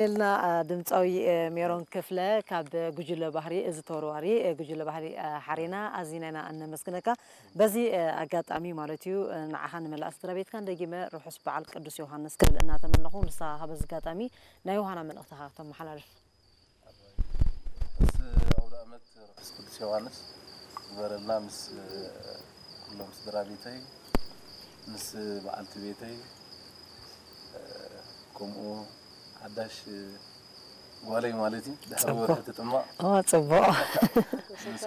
ልና ድምፃዊ ሜሮን ክፍለ ካብ ጉጅለ ባህሪ እዚ ተወርዋሪ ጉጅለ ባህሪ ሓሬና ኣዚና ኢና እነመስግነካ። በዚ ኣጋጣሚ ማለት እዩ ንዓኻ ንመላእ ስድራ ቤትካን ደጊመ ርሑስ በዓል ቅዱስ ዮሃንስ ክብል እናተመነኹ ንስኻ በዚ ኣጋጣሚ ናይ ዮሃና መልእኽትኻ ክተመሓላልፍ። ርሑስ ኣውደ ዓመት ርሑስ ቅዱስ ዮሃንስ ግበረልና ምስ ኩሎም ስድራ ቤተይ ምስ በዓልቲ ቤተይ ከምኡ ሓዳሽ ጓለይ ማለት እዩ ድሕሪ ወርሒ ትጥማቕ ጽቡቕ። ምስ